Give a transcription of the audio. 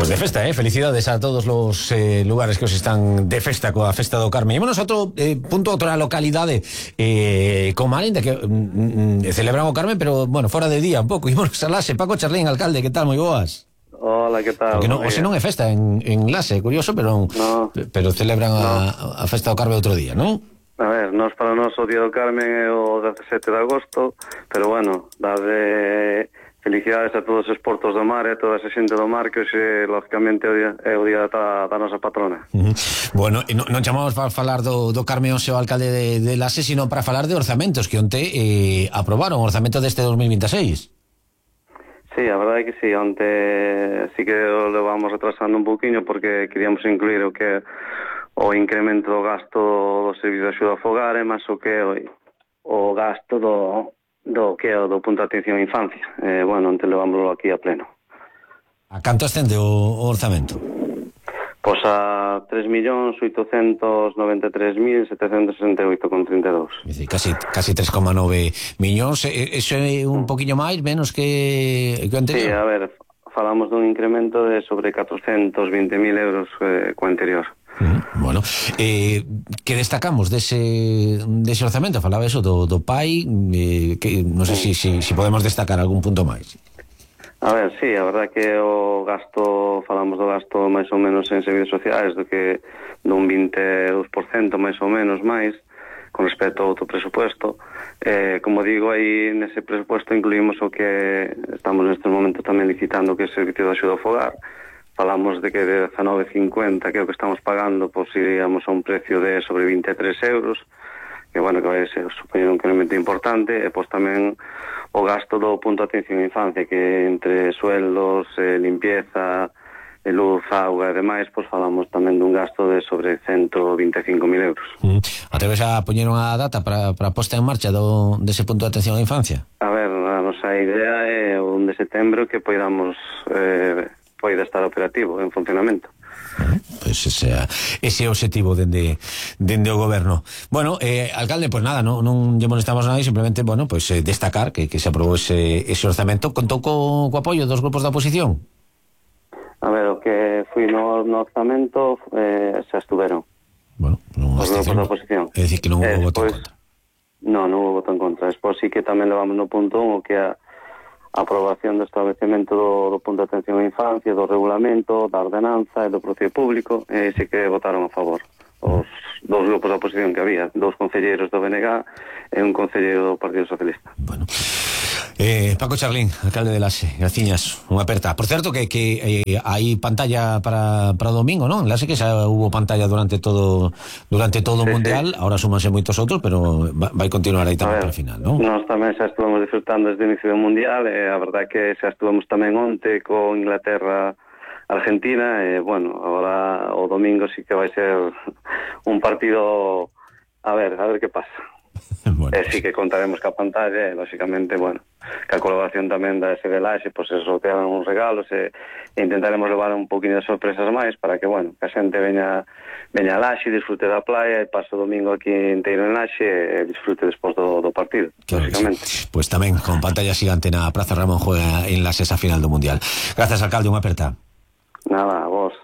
Pues de festa, felicidades a todos los lugares que os están de festa coa Festa do Carme. Ímonos a outro punto, outra localidade como Alinda, que celebran o Carmen, pero, bueno, fora de día un pouco. Ímonos a Lase. Paco Charlín, alcalde, que tal? Moi boas. Hola, que tal? Porque non, hoxe non é festa en Lase, curioso, pero celebran a Festa do Carme outro día, non? A ver, para nós o Día do Carmen é o 17 de agosto, pero bueno, darle felicidades a todos os portos do mar e a toda esa xente do mar, que hoxe, lógicamente, é o día da nosa patrona. Bueno, non chamamos para falar do Carme hoxe o alcalde de Lase, sino para falar de orzamentos que onte aprobaron o orzamento deste 2026. Sí, a verdade é que sí, onte sí que o levamos retrasando un pouquiño porque queríamos incluir o que o incremento do gasto do servicio de axuda a fogar e máis o que o gasto do que é o do punto de atención á infancia. Bueno, onte levámoslo aquí a pleno. A canto ascende o orzamento? Pois a 3.893.768,32. É dicir, casi 3,9 millóns. Eso é un poquinho máis, menos que anterior? Sí, a ver, falamos dun incremento de sobre 420.000 euros co anterior. Bueno, que destacamos dese orzamento? Falaba eso do PAI, que non sei se podemos destacar algún punto máis. A ver, sí, a verdade que o gasto, falamos do gasto máis ou menos en servicios sociais, do que dun 22% máis ou menos máis con respecto ao outro presupuesto. Como digo, aí nese presupuesto incluímos o que estamos nestes momentos tamén licitando, que é o servicio de axuda ao fogar. Falamos de que de 19,50, que é o que estamos pagando, pois iríamos a un precio de sobre 23 euros, que, bueno, que vai ser supoñer un incremento importante, e pois tamén o gasto do punto de atención á infancia, que entre sueldos, limpieza, luz, auga e demais, pois falamos tamén dun gasto de sobre 125.000 euros. Atreves a poñer unha data para a posta en marcha dese punto de atención á infancia? A ver, a nosa idea é o 1 de setembro que poida estar operativo, en funcionamento. Pois ese é o objetivo dende o goberno. Bueno, alcalde, pois nada, non lle molestamos a nadie, simplemente, bueno, pois destacar que se aprobou ese orzamento. Contou co apoio dos grupos da oposición? A ver, o que foi no orzamento se estuveron. Bueno, os grupos da oposición. É dicir, que non houve voto en contra. Non houve voto en contra. Despois sí que tamén levamos no punto 1 o que a aprobación do establecemento do punto de atención á infancia, do regulamento, da ordenanza e do procedimento público, e sí que votaron a favor os dous grupos da oposición que había, 2 concelleiros do BNG e un concelleiro do Partido Socialista. Bueno, Paco Charlín, alcalde de Lase, graciñas, unha aperta. Por certo que hai pantalla para o domingo, non? En Lase que xa hubo pantalla durante todo o mundial, ahora súmanse moitos outros, pero vai continuar aí tamén para o final, non? Nós tamén xa estuvemos disfrutando desde o inicio do mundial, e a verdade que xa estuvemos tamén onte con Inglaterra, Argentina, e bueno, agora o domingo sí que vai ser un partido a ver que pasa. Bueno, sí que contaremos ca pantalla e, lógicamente, bueno, ca colaboración tamén da SB Laxe, pois se sortearon uns regalos e intentaremos levar un poquinho de sorpresas máis para que, bueno, que a xente veña a Laxe, disfrute da playa e pase o domingo aquí inteiro en Laxe e disfrute despois do partido, claro, lógicamente. Sí. Pois tamén con pantalla xigante na Praza Ramón juega en Laxe esa final do Mundial. Gracias, alcalde, unha aperta. Nada, a vos.